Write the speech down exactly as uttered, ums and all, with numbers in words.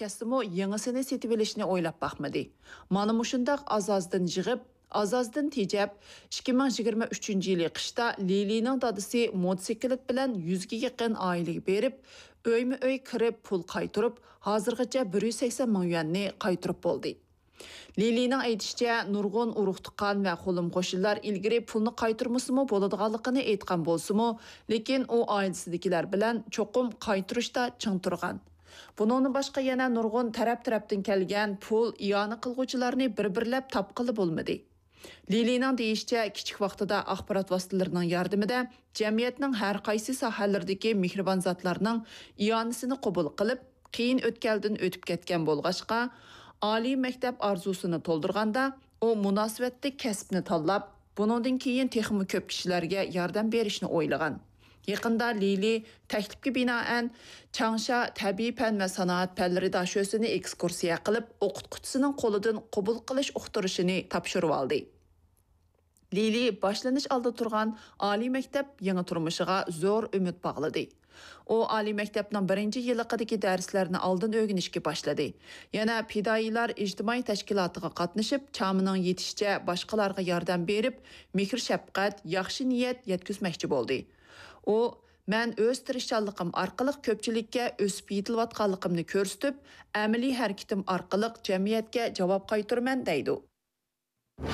ئەسلىمۇ يېڭىسىنى سېتىۋېلىشنى ئويلاپ باقمىدى. مانا مۇشۇنداق ئاز-ئازدىن يىغىپ، ئاز-ئازدىن تېجەپ، ئىككى مىڭ يىگىرمە ئۈچىنچى يىلى قىشتا لىلىنىڭ دادىسى موتوسىكلىت بىلەن يۈزگە يېقىن ئائىلىگە بېرىپ، ئۆيمۇ ئۆي كىرىپ پۇل قايتۇرۇپ، ھازىرغىچە بىر يۈز سەكسەن مىڭ يۈەننى قايتۇرۇپ بولدى. لىلىنىڭ ئېيتىشىچە، نۇرغۇن ئۇرۇق-تۇغقان ۋە قولۇم-قوشنىلار ئىلگىرى پۇلنى قايتۇرمىسىمۇ بولىدىغانلىقىنى ئېيتقان بولسىمۇ، لېكىن ئۇ ئائىلىسىدىكىلەر بىلەن چوقۇم قايتۇرۇشتا چىڭ تۇرغان. بۇنىڭدىن باشقا يەنە نۇرغۇن تەرەپ-تەرەپتىن كەلگەن پۇل ئىئانە قىلغۇچىلارنى بىر-بىرلەپ تاپقىلى بولمىدى. لىلىنىڭ دېيىشىچە، كىچىك ۋاقتىدا ئاخبارات ۋاسىتىلىرىنىڭ ياردىمىدە جەمئىيەتنىڭ ھەر قايسى ساھەلىرىدىكى مېھرىبان زاتلارنىڭ ئىئانىسىنى قوبۇل قىلىپ، قىيىن ئۆتكەلدىن ئۆتۈپ كەتكەن بولغاچقا، ئالىي مەكتەپ ئارزۇسىنى تولدۇرغاندا، ئۇ مۇناسىۋەتلىك كەسىپنى تاللاپ، بۇنىڭدىن كېيىن تېخىمۇ كۆپ كىشىلەرگە ياردەم بېرىشنى ئويلىغان. يېقىندا لىلى تەكلىپكە بىنائەن، چاڭشا تەبىئىي پەن ۋە سانائەت پەنلىرى داشۆسىنى ئېكسكۇرسىيە قىلىپ، ئوقۇتقۇچىسىنىڭ قولىدىن قوبۇل قىلىش ئۇقتۇرۇشىنى تاپشۇرۇۋالدى. لىلى باشلىنىش ئالدىدا تۇرغان ئالىي مەكتەپ يېڭى تۇرمۇشىغا زور ئۈمىد باغلىدى. ئۇ ئالىي مەكتەپنىڭ بىرىنچى يىللىقىدىكى دەرسلەرنى ئالدىن ئۆگىنىشكە باشلىدى. يەنە پىدائىيلار ئىجتىمائىي تەشكىلاتىغا قاتنىشىپ، چامىنىڭ يېتىشىچە باشقىلارغا ياردەم بېرىپ، مېھىر-شەپقەت، ياخشى نىيەت يەتكۈزمەكچى بولدى. ئۇ، مەن ئۆز تىرىشچانلىقىم ئارقىلىق كۆپچىلىككە ئۆسۈپ يېتىلىۋاتقانلىقىمنى كۆرسىتىپ، ئەمەلىي ھەرىكىتىم ئارقىلىق جەمئىيەتكە جاۋاب قايتۇرىمەن، دەيدۇ.